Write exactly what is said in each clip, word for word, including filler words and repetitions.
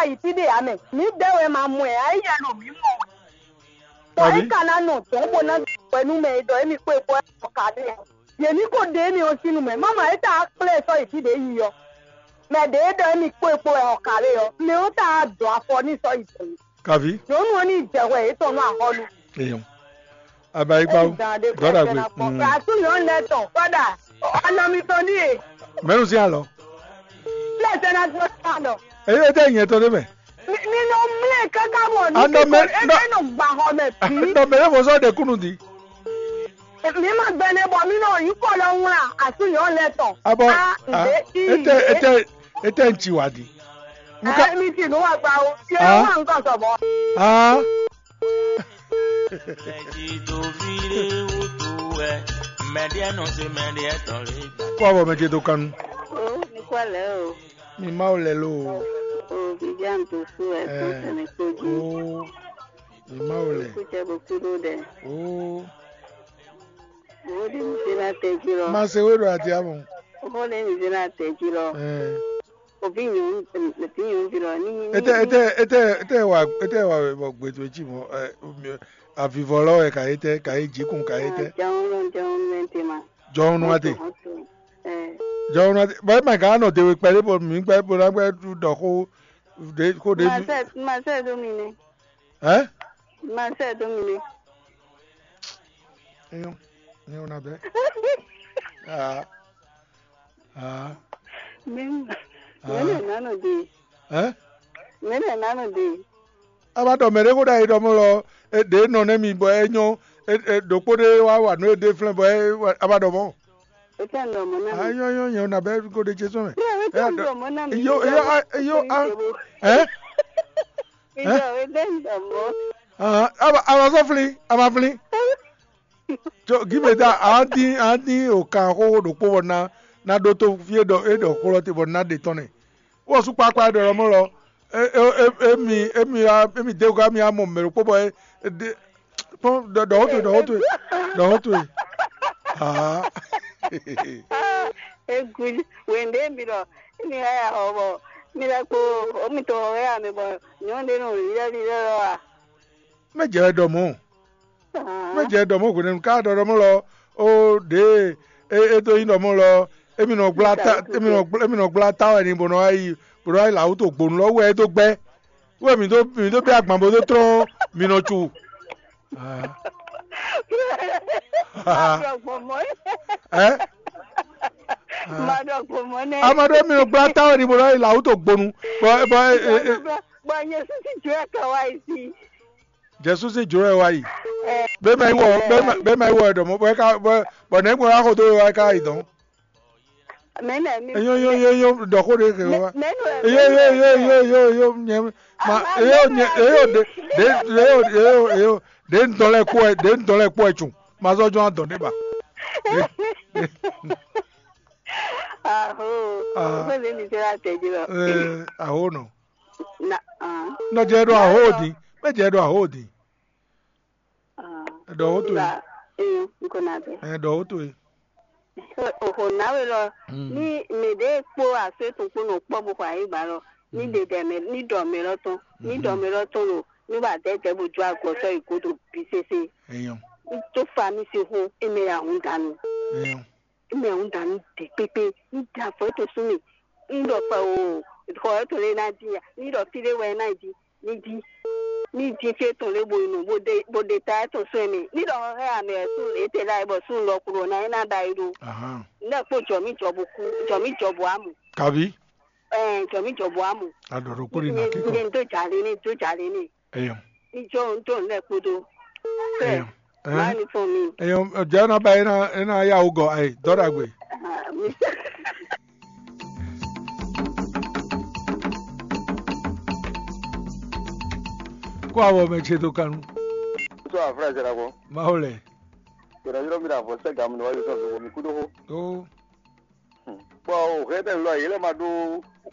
yi fí ɖé ǎ mɛ. Mǐ ɖɛ́ wɛ ma mɔ ɛ ǎ, éyɛ́ ɖo mǐ mɔ wɛ. Bɔ é ka ná nɔ dɔ̌n bó ná ɖɔ nú mɛ e ɖɔ émí kpó e kpó ɔ́ ka n'i ǎ. Yě ní ko ɖe émí ɔ́ sín nu mɛ. Mama é ta kplé sɔ́ yi fí ɖě yi ɔ́. Mɛ ɖě e ɖɔ émí kpó e kpó wɛ ɔ́ ka lé ɔ́, mɛ ɔ́ ta dɔn afɔ n'i sɔ́ yi dɔ̌n. Kaví. Nyɔ̌nu ɔ́ ní jɛ hwɛ yětɔn nú axɔ́ nú. Eyɔn. Abayigba o. Dɔdagbe. Asú nyɔ̌nu lɛ́ɛ tɔn kɔ́ɖa. Anɔ mitɔn ní e. Mɛnu sín alɔ. Lẹ́sẹ̀ náà tí wọ́n sá lọ. Eyɔn tɛ nyɛ tɔ de mɛ. Mi nɔ mlɛ kaka bɔ ní Anɔ mɛ- kíkɔ nɔ- ebe nɔ gbà xɔ mɛ bí. Nɔ mɛ ne fɔ sɔ de kunu di. Mi ma gbɛ ne bɔ mi nɔ yi kɔ lɔ ŋla asú nyɔ̌nu lɛ́ɛ tɔn. Abɔ. A nde i Ete ete ete ŋtsi wa di. Muka. Ɛ mi ti nu wa gba o. Tiɛ Ah. Wa ŋkɔ sɔbɔ. Ah. Mɛ jí tó fi ɖé wútu wɛ, mɛ ɖé nɔ se mɛ ɖé tɔn lé. Kó abɔ mɛ ce dó kanu. O, mi kɔ lɛ o. Mi Mawu lɛ lo. O, Viviane Dossou wɛ, Ɛɛ. Tó sɛnɛ kpó jí. O. Mi Mawu lɛ. Kújɛ bó kú ɖó ɖɛ. O. Wo ɖi mi se la tɛ jí lɔ. Ma se wé ɖo ati amɔ. Wo ɖi mi se la tɛ jí lɔ. Ɛɛ. Ovi nyɔnu, ovi nyɔnuvi lɔ, ní ní. Ete ete ete ete wa ete wa wɔ gbedo etsi mɔ ɛ mi avivɔ lɔ wɛ ka yi tɛ ka yi jikun ka yi tɛ. Jɔn lɔ jɔn mɛ te ma. Jɔn nu ate. Ɛ. Jɔn nu ate bɔn ema ka nɔ dewe kpɛ ɖe bɔ mi gbɛ bɔ na gbɛ ɖɔ xo ɖe xo ɖe. Ma sɛ ma sɛ do mi ne. Ɛ. Ma sɛ do mi ne. Eyɔn eyɔn na bɛ. Aa. Aa. Mɛnɛ nánɔ de. Ɛ. Mɛnɛ nánɔ de. A ma ɖɔ mɛ ɖé xó ɖ'ayǐ ɖɔ mɔ lɔ, e ɖě nɔ nɛ́ mi bɔ é nyɔ́, e e ɖokpó ɖé wá wa nǔ e ɖe flɛ́n bɔ é wa- a ma ɖɔ mɔ. Etɛ nɔ mɔ na A mi. Nyɔ́ nyɔ́ nyɛ na bɛ ko ɖe ce sɔn mɛ. Etɛ nɔ mɔ na mi. Yo yo a yo a. Ɛ. Ìjọ etɛ nɔ mɔ. Ahan, a ma a ma sɔ́ flín, a ma flín. Tso gímeda a dín a dín o kan xóxó ɖokpó bɔ ná ná ɖótó fí e ɖɔ é ɖɔ xó lɔ te bɔ ná ɖe tɔn nɛ. Wɔ sú kpákpá ɖɔ lɔ mɔ lɔ. Emi emi emi dé gá mi amɔ mɛ ɖokpó bɔ é ɖe kpɔn ɖɔ ɖɔ hóto ɖɔ hóto ɖɔ hóto. Aa. Egu wende mi ɖɔ mi ya ya xɔ bɔ mi lɛ kpo omi to wɛ ya mi bɔ nyɔnu ɖe nɔ lilɛ lilɛ lɔ wa. Mɛ jɛ wɛ ɖɔ mɔ. Mɛ jɛ ɖɔ mɔ hwenɛnu ká ɖɔ ɖɔ mɔ lɔ. O ɖe e e do nyi ɖɔ mɔ lɔ. Emi nɔ gbla ta emi nɔ gbla emi nɔ gbla ta wɛ ni bɔ nɔ ayi bɔ nɔ ayi la wuto gbonu lɔ wɛ e do gbɛ. Wɛ mi do mi do bɛ agban bo do trɔn mi nɔ tsu. Ɛ. Madɔgbɔmɔ nɛ. Ama ɖo emi nɔ gbla ta wɛ ni bɔ nɔ ayi la wuto gbonu. Bɔ bɔ e e. Bɔ nyɛ sisi jɔ ɛ ka wa yi si. Jesu sín jǒ wɛ wá yi. Bɛ́ ma yi wɔ bɛ́ ma yi wɔ ɛ ɖɔ mɔ̌ bɔ é ka bɔ bɔ nɛ̌ gbɔn wá xo dó we wá é ka yi dɔn. Mɛ nɛ mi. Eyo yo yo yo ɖɔ xó ɖe ke wá. Mɛ nɔ Eyo yo yo yo yo yo nyɛ ma eyo nyɛ eyo ɖe ɖe eyo eyo eyo ɖe ŋutɔ lɛ kpɔ ɛ ɖe ŋutɔ lɛ kpɔ ɛ tsun ma zɔ jɔn adɔ ne ba. Aho. Ah. Ko ne mi se la tɛ ji lɔ. Ee aho nɔ. Na ah. Nɔ jɛ ɖo aho din. Mɛ jɛ ɖo aho din. Ah. Ɖɔ wo to ye. Ba ee n ko na bɛ. Ɛ ɖɔ wo to ye. Oho nawe lɔ. Mm. Ni mɛ ɖe kpo aso etɔn kpo nɔ kpɔ bo xɔ ayi ba lɔ. Ni Mm. De dɛ mɛ ni dɔ mɛ lɔ tɔn ni dɔ Mhm. Mɛ lɔ tɔn lo ni ba dɛ dɛ bo jo agɔ sɔ yi godo bi sese. Eyɔn. N to fa mi se ho e mɛ ya hun danu. Eyɔn. Mɛ ń da nǔ ɖě kpékpé, ń da afɔ étɔn sú mì, ń ɖɔ fɛ o, xɔ étɔn lé ná dín ya, ní ɖɔ fí ɖé wɛ ná yi jí, ní jí, ní jí fí étɔn lé bo yi nɔ, bó ɖe bó ɖe ta étɔn sú ɛmɛ, ní ɖɔ xɔxɛ amɛ wɛ sú étɛ ɖ'ayǐ bɔ sú un lɔ klo ná é ná ɖ'ayǐ ɖó. Ahán. Nɛ kpó jɔ mí jɔ bo kú, jɔ mí jɔ bo amù. Kabi. Ɛɛ, jɔ mí jɔ bo amù. Aɖɔɖɔ kpó ɖi nà kíkɔ. Ní dó jà lé ní dó jà lé ní. Eyɔn. Ijó ń dùn lẹ́kúdú. Eyɔn. Má ní fún mi. Eyɔn, jẹ́ ná bá yín ná yá wò gọ̀ ayé dọ́dà gbé. Kó àwọ̀ mɛ ce tó kanu. Tó àfúrásì rà kọ́. Máwo lẹ̀. Yọ̀rọ̀ yọ̀rọ̀ mi rà fọ́ sẹ́gà mi níwájú sọ̀rọ̀ mi kú dóko. Ó. Bɔ o hɛn tɛ lɔ yele ma ɖó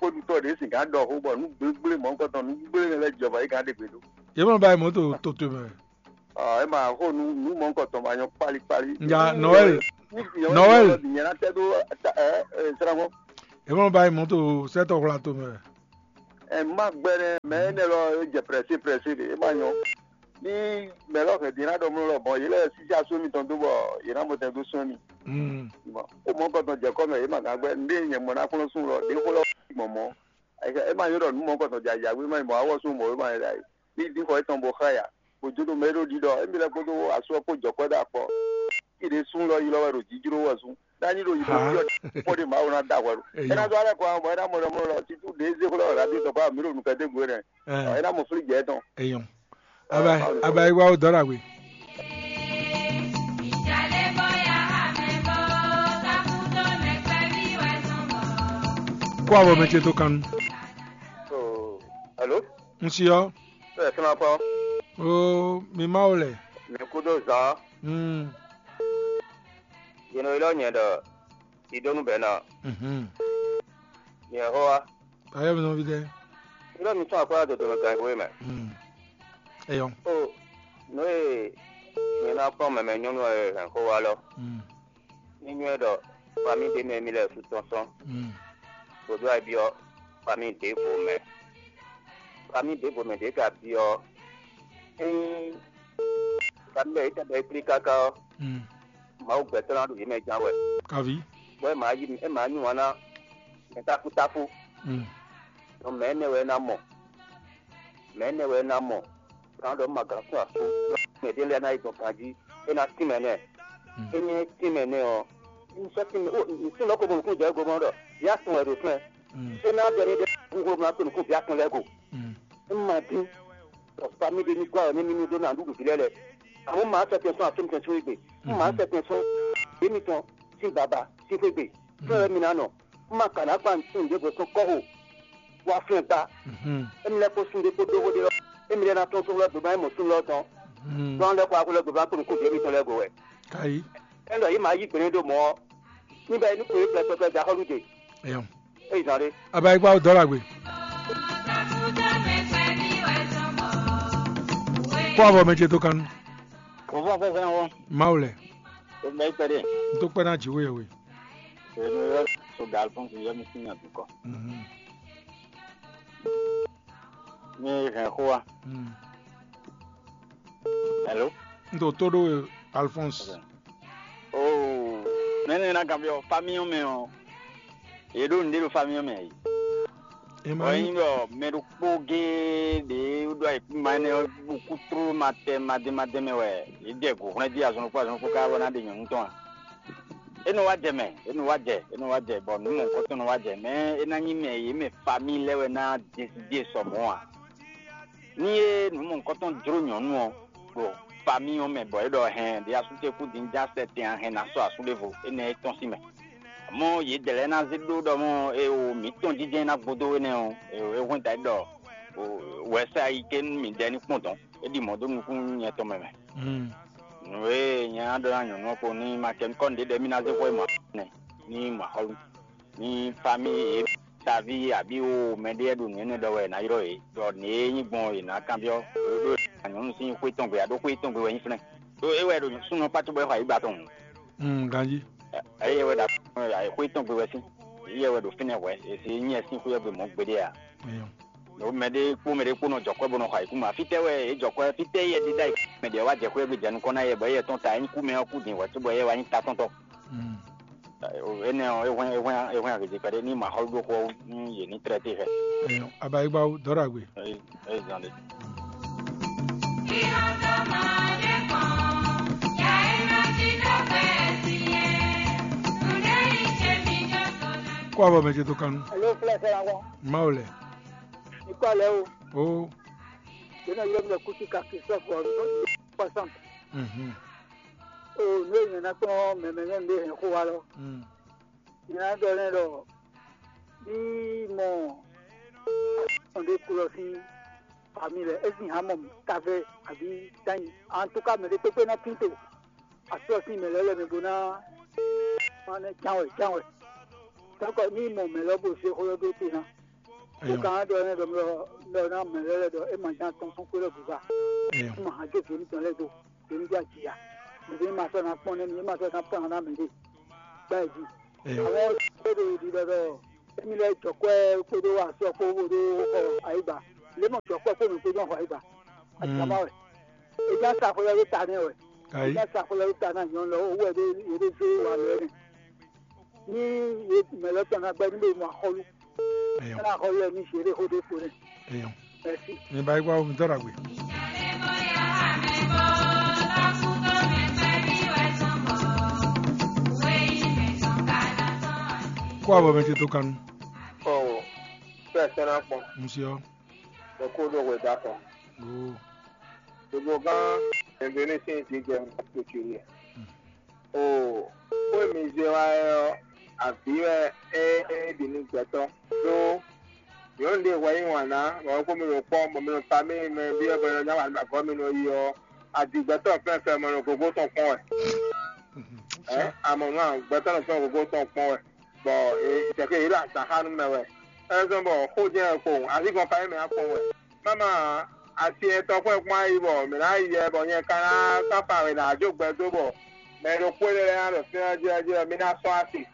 xódutɔ ɖe si gán ɖɔ xó bɔ nú gblégblémɔ ŋkɔtɔn nú gblémɛ lɛ jɔba yi gán ɖe gbe ɖó. Yě mɔ báyìí mɔ̌ to to to mɛ. Ɔ ɛ ma xó nú nú mɔ ŋkɔtɔn ma nyɔ kpali kpali. Nya Noël. Noël. Nyɛ na tɛ ɖó ɛ srangbɔ. Yě mɔ báyìí mɔ̌ to sɛtɔ hwla to mɛ. Ɛ má gbɛnɛ mɛ énɛ́ lɔ é jɛ prɛsé prɛsé ɖe, é má nyɔ. Ní mɛ lɔ hɛn din ná ɖɔ mlɔ lɔ bɔn yě lɛ sísí asú mitɔn dó bɔ yě ná mɔ tɛn dó sɔn mi. Ó mɔ kɔtɔn jɛ kɔmɛ yě ma gán gbɛ ndé nyɛ mɔ ná kplɔ́n sún lɔ ɖě xó lɔ gbɔn mɔ. É má nyɔ ɖɔ nǔ mɔ kɔtɔn jɛ ayǎgbé má nyɔ mɔ awɔ sún mɔ é má nyɔ ɖ'ayǐ. Ní dín xɔ étɔn bó xá ya, bó jó ɖo mɛ é ɖó ɖiɖɔ émi lɛ kpódó asú ɔ́ kpó jɔ̌kɔ́ ɖo akpɔ. Iɖe sún lɔ yi lɔ wɛ ɖo jijló wɛ sún. Dani ɖo yiɖo jí ɔ́, kpɔ́ ɖe Mawu ná da hwɛ ɖo. É ná dó alɛ kɔ bɔ é ná mɔ ɖɔ mɔ ɖɔ títú ɖě zé xlɔ́ wɛ ɖo adé tɔn kpá mǐ ɖo nukɛn dé gbe nɛ. É ná mɔ flí jɛ tɔn. Eyɔn. Aba aba yi wa o dɔ ɖagbe. Kó avɔ mɛ ce tó kan nu. Alo? N si ɔ́. Ɛ fúnra kɔ. Oo, mi ma wo lɛ. Mi kúdó zan. Mm. Yě nɔ ylɔ́ nyɛ ɖɔ Sidónu bɛ́ ná. Mhm. Nyɛ xó wá. Ayé mi nɔví dɛ. Ylɔ́ mi tún akwɛ́ dodo mɛ ganxixo e mɛ. Mm. Eyɔn. O, nǔ e nyɛ ná kplɔ́n mɛmɛ nyɔ́nu e hɛn xó wá lɔ. Mm. Ní nywɛ́ ɖɔ famí ɖé mɛ mi lɛ́ɛ sú tɔn sɔn. Mm. Vodúnayíbí ɔ́, famí ɖěvo mɛ. Famí ɖěvo mɛ ɖě ka byɔ́ ɔ́, ényí famí lɛ́ɛ yě tɛn bɔ é kplí káká ɔ́, Mm. Mawu gbɛtɔ́ ná ɖo yě mɛ ján wɛ. Kaví. Bɔ é maa yí é maa yí wǎn ná mɛ táfútáfú. Mm. Nɔ mɛ énɛ́ wɛ é ná mɔ. Mɛ énɛ́ wɛ é ná mɔ. Kan ɖɔ un ma gǎn sún asú. Mɛ ɖé lɛ́ɛ ná yi dɔn ganjí. É ná tínmɛ nɛ́. Mm. Ényí é tínmɛ nɛ́ ɔ́, un sɔ́ tínmɛ ó un tínmɛ ɔ́ ko mɔ nǔkún jɛ go mɔ ɖɔ yá sun wɛ ɖo fɛn. Mm. É ná ɖɔ ní ɖe húhú ná kó nǔkún bǐ atɔn lɛ́ɛ go. Mm. Un ma dín. Ɖɔ famí ɖé ní gɔ́ ní mímí ɖó ná ɖuɖu vǐ lɛ́ɛ lɛ́ɛ. Amɔ̌ ma sɛkpɛn sɔ́ asú mitɔn sín xwé gbe. Un ma sɛkpɛn sɔ́ yě mitɔn sín baba sín xwé gbe. Fɛ́n wɛ mi ná nɔ. Un ma ka ná kpa sun ɖěvo sɔ́ kɔ́xo wá flɛ́n gbá. Mhm. Émi lɛ́ kpó sun ɖé kpó dó xó ɖé ɔ́, émi lɛ́ ná tɔ́n só xwlɛ́ gběgbá nyí mɔ̌ sun lɔ tɔn. Mhm. Dɔn lɛ́ kɔ wá xwlɛ́ gběgbá kpó nukún ɖě mitɔn lɛ́ɛ go wɛ. Kayi. Ɛ́ ɖɔ yě ma yí gbe do mɔ̌ ɔ́, ní bɛ ní kpé pɛpɛpɛ jɛ axɔ́lú ɖe. Eyɔn. É yi zán ɖé. Aba yi kpá dɔ́ ɖagbe. Kó avɔ mɛ ce tó kan nu. Kò fún afẹ́fẹ́ wọn. Mawu lɛ. Ó bɛ kpɛɖé. N tó kpɛ́ ná jǐ wé we. Èmi yɔ so Galfons yɔ mi sín àdúkọ. Mhm. Mi hɛn xó wa. Mm. Hello. N tó tó ɖó we Alphonse. Oo, mɛni na kan byɔ famiyɔn mɛ ɔ, yě ɖo nǔɖé ɖo famiyɔn mɛ yi. Ɔ nyí ɖɔ mɛ ɖokpó géé ɖě ɖo ayǐkúngban énɛ́ ɔ́ bó kú tlóló ma tɛ madé madé mɛ wɛ, yě jɛ gǔ hwlɛ́n jí azɔn ɖokpó azɔn ɖokpó ká bɔ ná ɖe nyɔ̌nu tɔn a? É nɔ wá jɛ mɛ, é nɔ wá jɛ, é nɔ wá jɛ, bɔ nǔ mɔ̌hunkɔtɔn nɔ wá jɛ. Mɛ é ná nyí mɛ yě mɛ famí lɛ́ɛ wɛ ná ɖe sɔ mɔ̌ a? Ní é nǔ mɔ̌hunkɔtɔn jló nyɔ̌nu ɔ́, ɖo famí ɔ́ mɛ bɔ é ɖɔ hɛn ɖě asú ce kú din ján sɛtɛn a hɛn ná sɔ́ asú ɖěvo, énɛ́ é tɔ́n sín mɛ. Amɔ̌ yědɛɛ lɛ́ɛ ná zé ɖó ɖɔ mɔ̌ é o mǐtɔn jínjɛ́n ná gbódó énɛ́ ɔ́, é hwɛ́n da ɖɔ wɛ̌sa yi ké nú mǐdɛɛ ní kpɔ́n dɔ̌n, é ɖi mɔ̌ dó nukún nyɛ tɔn mɛ mɛ. Nǔ e nyɛ ná ɖɔ ná nyɔ̌nu ɔ́ kpo ní ma kɛ nukɔn ɖě ɖɔ émí ná zé xwé mɔ nɛ ní mɔ axɔ́lú ní famí yě taví abǐ o mɛɖé ɖo nǔ énɛ́ ɖɔ wɛ è nǎ ylɔ́ yě, ɖɔ nǔ e nyí gbɔn è nǎ kanbyɔ́ ɖó nyɔ̌nu sín xwé tɔn gbe aɖó xwé tɔn gbe wɛ nyí flɛ́n. Ɖó é wɛ ɖo súnnu kpácú bɔ é xɔ ayǐ gba tɔn. Mm, ganjí. Eye wɛ ɖo xwé tɔn gbe wɛ sín. Eye wɛ ɖo fínɛ́ hwɛ̌, è si nyí ɛ sín xwé ɔ́ gbe mɔ̌ gbeɖé a? Eyɔn. Ɖo mɛ ɖé kpó mɛ ɖé kpó nɔ jɔ kwɛ́ bó nɔ xɔ ayǐkúngban. Fítɛ́ wɛ yě jɔ kwɛ́? Fítɛ́ yɛ dídá yi mɛ ɖě wá jɛ xwé gbe jɛ nukɔn ná yɛ bɔ yɛ tɔn ta é nyí kú mɛ ɔ́ kú din hwɛ̌ cóbɔ yɛ wá nyí ta tɔn tɔn. Mm. Énɛ́ ɔ́, é hwɛ́n é hwɛ́n é hwɛ́n agějé kpɛɖé ní ma xɔ ɖó xó ɔ́ wú nú yě ní tlɛ́ té xɛ. Eyɔn. Abayigbawo dɔ́ ɖagbe. É zan ɖé. Kó avɔ mɛ ce tó kan nu. Alo, fúlẹ̀ fẹ́ wa wá. Mawu lɛ. Ikú alẹ́ o. O. Yéna yɔ mi lɛ kusi ka Christophe ɔ, soixante. Mhm. O, ne yɛn na kpɔn mɛmɛ nyɔnu ɖe hɛn xó wa lɔ. Mm. Yɛn na ɖɔ nɛ ɖɔ bí mɔ ɔn ɖe kulɔ sín famille lɛ, esi hã mɔ tavɛ àbí tanyi. En tout cas, mɛ ɖe kpékpé ná tín to asɔ sín mɛ lɛ́ lɛ́ mɛ bó ná ná nɛ ján wɛ ján wɛ. Donc ní mɔ mɛ lɔ bó zé xó lɔ ɖó te ná. Bó Eyɔn. Ka ɖɔ nɛ ɖɔ mɛ lɔ ná mɛ lɛ́ lɛ́ ɖɔ é ma ján tɔn fún kpé lɔ bùbá. Eyɔn. É ma hàn jẹ́ vǐ mitɔn lɛ́ do. Vǐ mi jẹ́ àjìyà. Mɛ ɖé ma sɔ́ ná kpɔ́n nɛ́ mi, é ma sɔ́ ná kpɔ́n ná mɛ ɖé. Gbá ẹ̀ jí. Eyɔn. Àwọn ṣé ɖo ìdí lọ́dọ̀ Émi lɛ́ jɔ kwɛ́ kpódó asɔ kpó bó ɖó xɔ ayigba. Lě mɔ jɔ kwɛ́ kpó mǐ kpódó xɔ ayigba. Àjàmá wɛ. È já sa xwlɛ́ ɖó ta nɛ́ wɛ. È Ayi. já sa xwlɛ́ ɖó ta ná nyɔ̌nu lɔ owó ɛ ɖé yě ɖé zé wa lɔ ɛ nɛ. Ní yě mɛ lɔ tɔn ná gbɛ́ ní bó mɔ axɔ́lú. Eyɔn. Ná axɔ́lú ɛ ní zě ɖé xó ɖé kpo nɛ. Eyɔn. Mɛsi. Mi ba yi kpá wo mi tɔ́ ɖagbe. Kó abɔ mɛ ce tó kanu. Ɔ, fẹ́ sɛ́ ná kpɔn. Monsieur. Ẹ kó ɖo hwe da kɔn. Oh. Gbogbo gán Indonésie ti jɛ kutuli ɛ. O, xó e mi zé wá ɛ ɔ́, avǐ wɛ é é ɖi nú gbɛtɔ́. Ɖó nyɔ̌nu ɖé hwɛ yí wǎn ná, bɔ é kpó mi ɖo kpɔ́, bɔ mi ɖo famille mɛ byɔ́ bɔ é nɔ nya wǎn ɖo agɔ́ mi nɔ yi ɔ́, adi gbɛtɔ́ fɛ́nfɛ́n mɔ nɔ gogo tɔn kpɔ́n wɛ. Ɛ, amɔ nú gbɛtɔ́ nɔ fɛ́n gogo tɔn kpɔ́n wɛ. Bɔ, e, tɛkɛ yě ɖo azǎn xa nú mɛ wɛ. É zɔ́n bɔ xó jɛ́n wɛ kpowun, azǐngɔn ka nyí mɛ ná kpɔ́n wɛ. Mama, asi etɔn xwɛ kpɔ́n ayi bɔ mǐ ná yi yɛ bɔ nyɛ ka ná káfa wɛ ná jó gbɛ dó bɔ mɛ ɖokpó ɖé lɛ́ɛ ná ɖo fínɛ́ ɔ́ jí ɔ́ jí ɔ́, mí ná sɔ́ asi.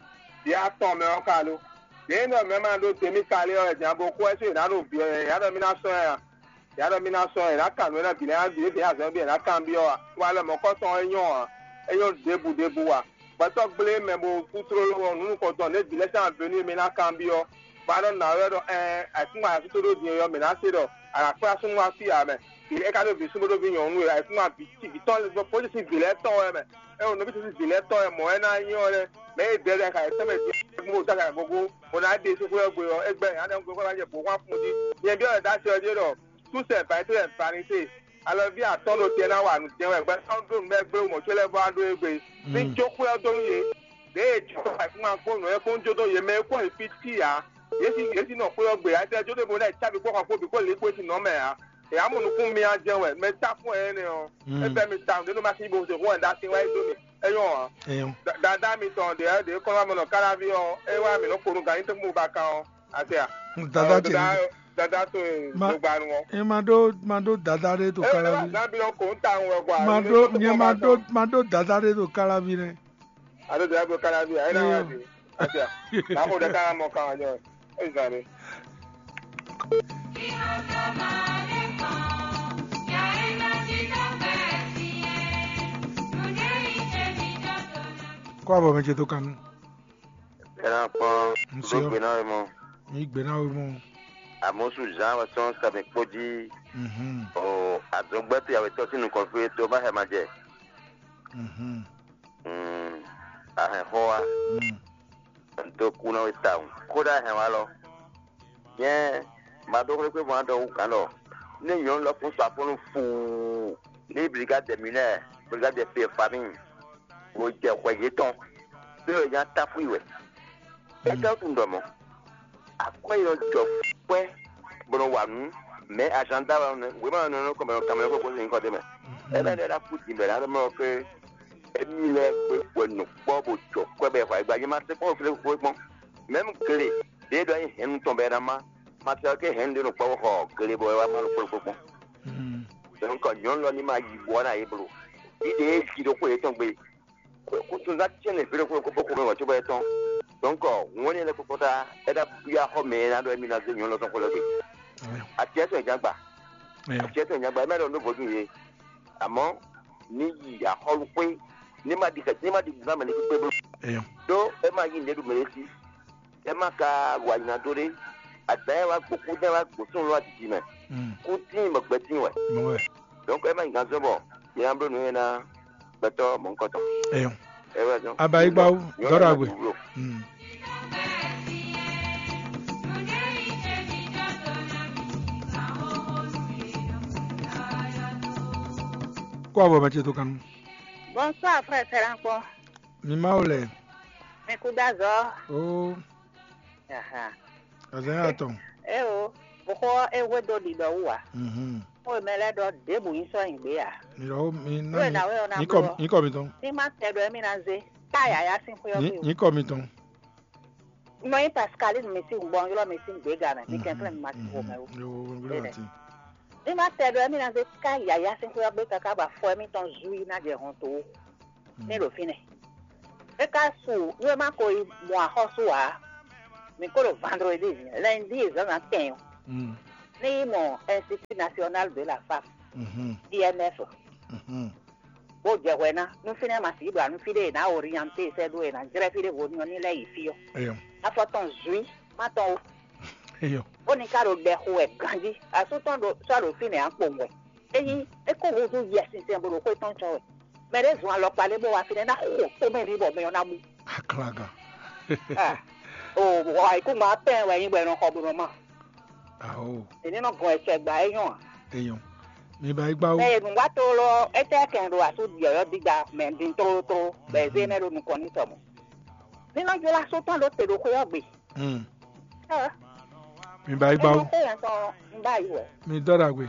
Vǐ atɔn mɛ ɔ́ ka lo. Yě nɔ mɛ ma ɖó te mì ka lé ɔ́ wɛ din abo kú wɛ sú yě ná ɖo vǐ ɔ́, yě ná ɖɔ mí ná sɔ́ ɛ a? Yě ná ɖɔ mí ná sɔ́ ɛ, yě ná kan nǔ e ná bǐ lɛ́ɛ ná bǐ, é bǐ azɔ̌ bǐ yě ná kanbyɔ́ a? Wá lɔ mɔ̌kɔ́tɔn ɔ́ é nyɔ́ ǎ. É nyɔ́ ɖěbǔ ɖěbǔ a? Gbɛtɔ́ gblé mɛ bo kú tlóló ɔ́, nǔ nukɔntɔn ɖě bǐ lɛ́ɛ sín avě nú e mɛ ná kanbyɔ́. Bɔ a nɔ nǎ wɛ ɖɔ ɛɛ, ayǐkúngban asú tó ɖó din ɔ́, mǐ ná se ɖɔ a nǎ kplá súnnu wá fí ǎ mɛ. Vǐ é ka ɖó vǐ súnnu bó ɖó vǐ nyɔ̌nu e ayǐkúngban vǐ ci vǐ tɔn lɛ́ɛ bó ɖo sín vǐ lɛ́ɛ tɔn wɛ mɛ. É o nɔví sín vǐ lɛ́ɛ tɔn wɛ mɔ̌ wɛ ná nyí ɔ́ lɛ́ɛ, mɛ e dɛdɛ ka yě tɛnmɛ din bó dó aga gogo, bó ná ɖe sín xwé ɔ́ gbe ɔ́, é gbɛ́ nya ɖɛ́ gbe xwé wá jɛ bǒ xwán fun jí. Nyɛ byɔ́ wɛ dó asi ɔ́ jí ɖɔ, sú sɛ vǎ yi tó lɛ vanité, alɔví atɔ́ ɖo tɛ ná wa nǔ jɛ wɛ, gbɛtɔ́ ɖó nǔ bɛ́ gbé mɔ̌ có lɛ́ɛ vɔ wá ɖó égbé. Ní jó xwé ɔ́ dó nú yě. Ɖěe jǐxɔ ayǐkúngban kpó nǔ e kpó un jó dó yě mɛ e kpó nyi fí tí ǎ. Yě sín yě sín nɔ xwé ɔ́ gbe ǎ, é jó ɖé bo ná yi cábi kpó xɔ kpó bǐ kpó lǐ kpó é sín nɔ mɛ ǎ. È yǎ mɔ nukún mì á jɛ́n wɛ, mɛ tá fún ɛ énɛ́ ɔ́, é fɛ́ mi tawun ɖě nɔ ma sín bo se xó wɛ ɖó así wá yi dó mì. É nyɔ́ ǎ. Eyɔn. Da- Dadá mitɔn ɖě ɖě kɔn wá mɔ nɔ káláví ɔ́, é wá mǐ nɔ kponu gǎn nyí tɛ́ntin bó ba kan ɔ́. Ase a? Dada ce. Dada dada to e Ma- dogba nu ɔ́. E ma ɖó ma ɖó dada ɖé to É wá káláví. Gǎn bí ɔ́ kò ń ta òun wɛ gwa. Ma ɖó nyɛ ma ɖó ma ɖó dada ɖé to káláví nɛ. Alo dada to káláví a? É ná wá di. Ase a? Má kó ɖe ká mɔ kan wá jọ. É zan ɖé. Kó abɔ mɛ ce tó kanu. Ena kpɔn Ŋsɔ. Ɖó gbe ná wɛ mɔ. Mi gbe ná wɛ mɔ. Amosu Jean wɛ sɔn sɛbɛ kpó jí. Mhm. O azɔngbɛ́ to yàwé tɔ́ sín nukɔn fí tó má hɛ ma jɛ. Mhm. Mm, ahɛn xɔ wa. Mm. N tó kú ná wɛ tawun. Kódà ahɛn wa lɔ. Nyɛ ma ɖó xwé xwé mɔ adɔ wú gǎn lɔ. Ní nyɔ̌nu lɔ kún sɔ afɔ́nú fuu. Ní brigade des mineurs, brigade des familles. Bó jɛ xwɛ yětɔn, ɖó è nya táfú i wɛ. É ka tunwun ɖɔ mɔ̌, akwɛ́ e nɔ jɔ kwɛ́ bó nɔ wa nǔ, mɛ̌ azǎn da wɛ nɔ wěma nɔ nɔ kɔmɛ nɔ kanmɛ nɔ kó sin kɔ ɖ'é mɛ. É bɛ ɖɔ ná kú din bɛ ná ɖɔ mɔ ké émí lɛ́ɛ kpé hwɛ nǔkpɔ́ bó jɔ kwɛ́ bɛ xɔ ayigba nyɛ ma se kpɔ́n flé kpó kpɔ́n. Mɛ̌m gle ɖě ɖɔ é hɛ̌nnu tɔn bɛ ná má, ma se ɔ́ ké hɛ̌nnu ɖé nɔ kpɔ́ bó xɔ gle bɔ é wá má nɔ kpó kpó kpɔ́n. Donc nyɔ̌nu lɔ ní ma yi bɔ ná yě blo. Ɖíɖe e ji ɖokpó yětɔn gbe. Kútúnzá tiɛ́nɛ vǐ ɖokpó ɖokpó kó mɛ wǎ cóbɔ yɛtɔn. Donc ŋɔ́ ní ɛnɛ kpɔ́kpɔ́ ta é ná byɔ́ axɔ́ mɛ e ná ɖɔ émí ná zé nyɔ̌nu lɔ tɔn xó lɛ́ gbe. Atiyɛ tɔn jǎn gba. Atiyɛ tɔn jǎn gba é má ɖɔ nú vodún yě. Àmọ́ ní yi axɔ́lúxwé ní má ɖi ní má ɖi nǔ ná mɛ ní kpékpé bló. Ɖó é má yí nǔɖé ɖu mɛ ɖé sí. É má ka wa nyi ná dó ɖé. Adǎn e wá gbǒ kú dɛn wá gbǒ súnnu lɔ adidi mɛ. Kú tíin bɔ gbɛ tíin wɛ. Donc é má nyi gǎn zɔ́n bɔ mi ná bló nǔ nyanya ná gbɛtɔ́ mɔ̌hunkɔtɔn. Eyɔn. É wɛ zɔ́n. Abayigbawo dɔrɔ agbe. Kó abɔ mɛ ce tó kan. Bonsoir frère Serankpɔn. Mi ma wo lɛ. Mi kú dá zɔ. Oh. Azɛn atɔn. E o, bɔkɔ e hwe do ɖiɖɔ wu a. Mhm. Ko mɛ lɛ ɖɔ ɖebu yi sɔ yin gbe a. Mi ɖɔ mi na Wo mi. Na we ona Nyikɔ blo. Nyikɔ mi tɔn. Ni ma tɛ ɖɔ mi na ze. Ta yaya sin xwe ɔ Nyi- bi o. Nyikɔ mi tɔn. Nɔ yi Pascaline mi si gbɔn yɔrɔ mi si gbega mɛ. Mi kɛn kɛn mi ma si wo mɛ o. Yo wo wo Bene. Ti. Ni ma tɛ ɖɔ mi na ze ta yaya sin xwe ɔ gbe kaka ba fɔ mi tɔn zui na jɛ hɔn to. Ní ɖo fínɛ́. É ka su nú é má ko yi mɔ axɔ́sú ǎ. Mi ko ɖo vendredi, lundi e zǎnzǎn tɛn ɔ́, ní yi mɔ Institut National de la Femme, I N F, bó jɛ hwɛ ná. Nú fínɛ́ ma sixú ɖo anú fí ɖé e nǎ orienté sɛ́ ɖó e nǎ jlɛ́ fí ɖěvo ní ɔ́ ní lɛ́ yi fí ɔ́. Afɔ tɔn zui má tɔn ó. Bó ní ka ɖo ɖɛ xo wɛ ganjí. Asú tɔn ɖo sɔ́ ɖo fínɛ́ á kpowun wɛ. Ényí é kó húzú Yɛ sinsɛn bó ɖo xwé tɔn cɔ́ wɛ, mɛ ɖé zun alɔkpa ɖé bó wá fínɛ́ ná xo tó mɛ ní bɔ mɛ ɔ́ ná bú. Aklaga. O wɔ ikú ma pɛn wɛ nyí bɔ è nɔ xɔ bó nɔ ma. Aho. Èní nɔ gɔn ẹsẹ̀ gbà é nyɔ́ à. Eyɔn. Mi ba igba wo. Ẹ nùgbà tó lọ, ẹ tẹ́ kẹ́ ɖo àtú yọ̀yọ́ dídá mɛ dín tlótló bɔ ẹ zé nɛ ɖo nukɔn ní sɔmɔ. Nínú jọlá sótán ló te ɖo xwé ɔ́ gbe. Hmm. Ẹ Mi ba igba nɔ wo. xó yẹn tán ń bá yìí wẹ̀. Mi dɔ ɖagbe.